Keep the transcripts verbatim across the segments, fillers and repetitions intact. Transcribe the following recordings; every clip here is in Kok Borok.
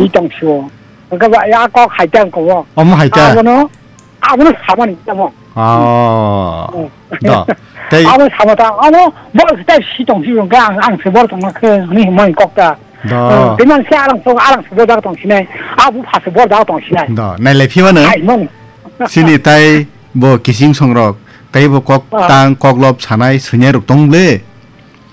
si tong sio. Hwnkhe ba ya kok hai tang ko. Omo hai ta? Abono, abono samani tamo. Oh. Hmm. Do. Tei abo sama ta, abo bo ta si tong si hwnkhe ang, ang se bor tong khe ni himani kok ta. Do. Hmm, tei man se arang so, arang se bor da tong sinai. Abo pha se bor da tong sinai. Do. Nai le phimano. Hai mani. Sini tai bo kising songrok, tei bo kok Ah. tang, kok lop sanai, swngyai rok tong le.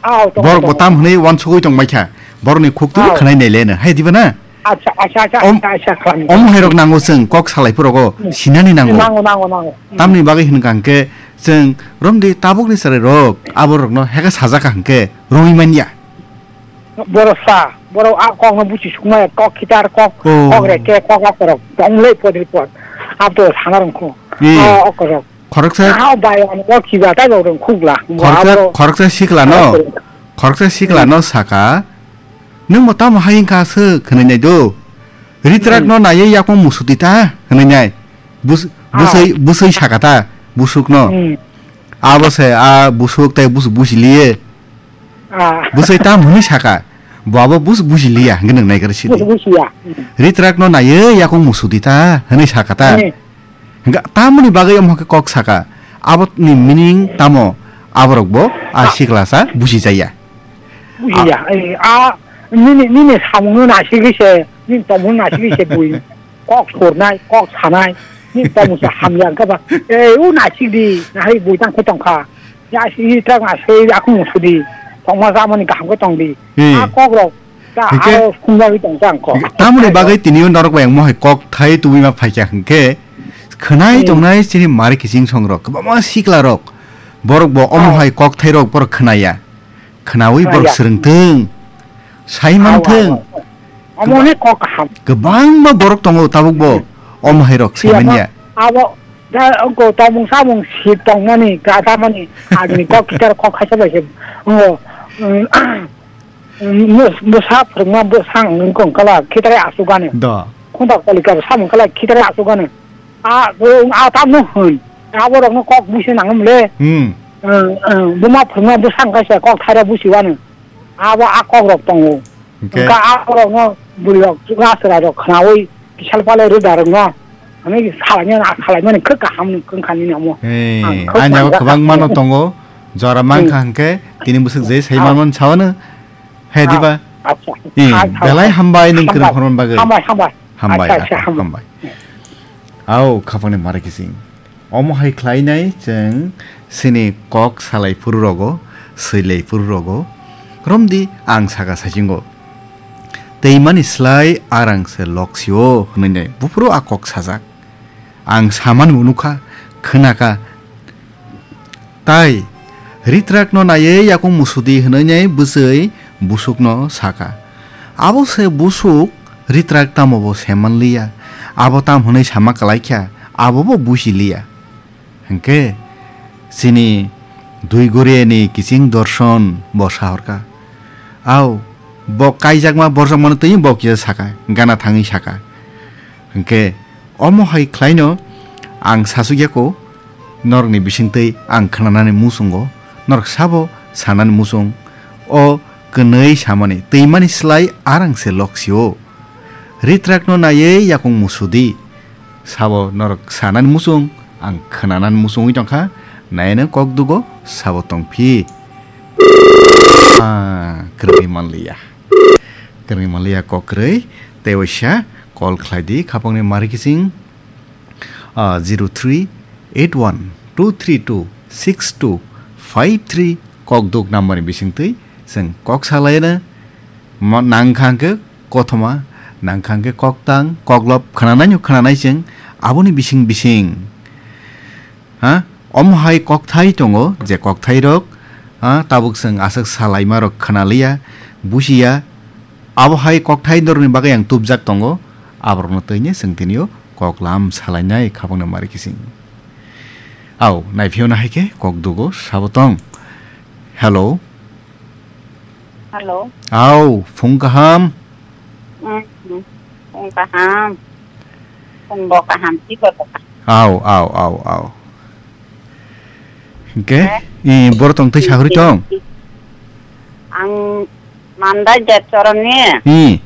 Aw, tongo, Borok bo tongo. Tam hwnwi uansugwi tongbaikha. Borokni khuk twi Aw. Khwnai naileno. Hai diba na? Acha, acha, acha, Om-, acha, acha, khlani. Omo hairok nango chwng kok salai phuru rogo Hmm. Sinani nango. Nango, nango, nango. Hmm. Tamni bagwi hwnkha hwnkhe chwng romdi tabukni chwrairok aborokno heka sajak kha hwnkhe romwi manya. Borok sa, borok a kokno buchi sukmaya, kok khitar, kok, Oh. Kok reke, kok akorok. Tonglei podri pod. Abdo sana rwngkho. Eh. O okorok. Khoroksa Ah, bai, ang bo khiba tai bo rwng khugla. Khoroksa, Abo khoroksa siklano, khoroksa siklano Hmm. Saka, "Nwng bo tamo hai wngkha aswk?" hwnwi nai do. Ritrak Hmm. No naiwi yakung musuti ta hwnwi nai. Bus-, Ah. Busui, busui saka ta, busuk no. Hmm. Abo se, a busuk tai bus-, busi liye. Ah. Busui tam hwnwi saka, bo abo bus-, busi liya, hwnwi nai kar sidi. Bus-, busi ya. Hmm. Ritrak no naiwi yakung musuti ta, hwnwi saka ta. Hmm. Hingka tamoni bagwi omo khe kok saka. Aboni meaning tamo? Aborok bo a siklasa busi jaya. Busi ya. A- Ei, a, nini, nini samungno nasigwi se, nini tongmungno nasigwi se bui. Kok surnai, kok sanai, nini tongmung se hamya wngkha ba. Ei, u nasigdi, nahai bui tang khe tongkha. Ya si i trak na se, aku musudi. Tongma jamani kaham khe tongdi. Hmm. A kok rok. Ta Hingke, aro sumjagwi tong chang kho. Tamoni bagwi tini o norok bai ang mohai kok thai tubui ma phaikya hingke khwnai Hmm. Tongnai chini mari kiching songrok kwbangma sikla rok borok bo omo Oh. Hai kok thai rok borok khwnaya khwnawi borok Khwnaya. Swrwngthwng sai Aw, manthwng aw, aw. Omo ne kok kaham. Kwbangma borok tongo tabuk bo Hmm. Omo hai rok Iya, saimanya. Abo da ko tomung samung si tongmani ka tamani agni kok kitar kok khaisa bai se. Ngo. Bwsa phwrwngma bwsang wngkha wngkhala khitare asugani. Do. Khunta kalika bwsa wngkhala khitare asugani. A, a tamno hwn. Aborokno kok busi nangmle. Hmm. Buma phwrwngma bwsang kaisa kok thaira busi wano. Abo a kokrok tongo. Hwnkhe? Hwnkha aborokno bwrwirok chwngno chwrairok khwnawi kisal palai rwdarokno. Ani salaimani, a salaimani khe kaham wngkha nini omo. Ang khe ani abo manjak kwbangma no tongo. Jora mankha hwnkhe tini bwswk je sai manmani sawano. He diba? Acha. Belai hambai nwng kwrwng khormani bagwi. Hambai, hambai. Hambai, acha, acha, hambai. Hambai. Au, khapangni mari kising. Omo hai khlainai chwng chini kok salai phuru rogo, swilai phuru rogo. Romdi ang saka sachingo. Twimani slai arang se loksio hwnwi nai buphuru a kok sajak. Ang samani bo nukha, khwnakha. Tai ritrakno naiwi yakung musudi hwnwi nai bwchwi busukno sakha. Abo se busuk ritrak tamo bo se manliya. Abo tam hwnwi sama kwlaikha, abo bo busi liya. Hwnkhe chini Dui Goriani kiching Dorson bo sahorkha. Au, bo kaijakma borjakmano twi bo kisa sakha, gana thangwi sakha. Hwnkhe omo hai khlaino ang sasukya ko, norokni bisingtwi ang khnanani muchungo, norok sabo sanani muchung, o kwnwi samani twimani slai arang se loksio. Ritrakno naiwi yakung musudi. Sabo norok sanani muchung, ang khnanani muchungwi tongkha, naino kok dugo sabo tongphi. Ah, kwrwi manliya. Kwrwi manliya kok kwrwi, tei waisa call khlai di, khapangni mari kiching, ah, zero three eight one two three two six two five three kok duk number ni bisingtwi chwng kok salaina ma-, nangkha hwnkhe kothoma, nangkha hwnkhe koktang, koklop khwnanai no khwnanai chwng aboni bising bising. Ha? Omo hai kokthai tongo, je kokthairok, ha, tabuk chwng aswk salaimarok khwnaliya, busiya. Abo hai kokthai norokni bagwi ang tubjak tongo, aborokno twini chwng tinio koklam salainai khapangno mari kiching. Au, naiphiyona hai khe kok dugo sabo tong. Hello. Hello. Au, phung kaham. Mm, phung kaham. Phung bo kaham, si bo kaham. Au, au, au, au. Hingke, eh? I, boro tong tei sagori tong? Ang Mandai Jatchoroni. I.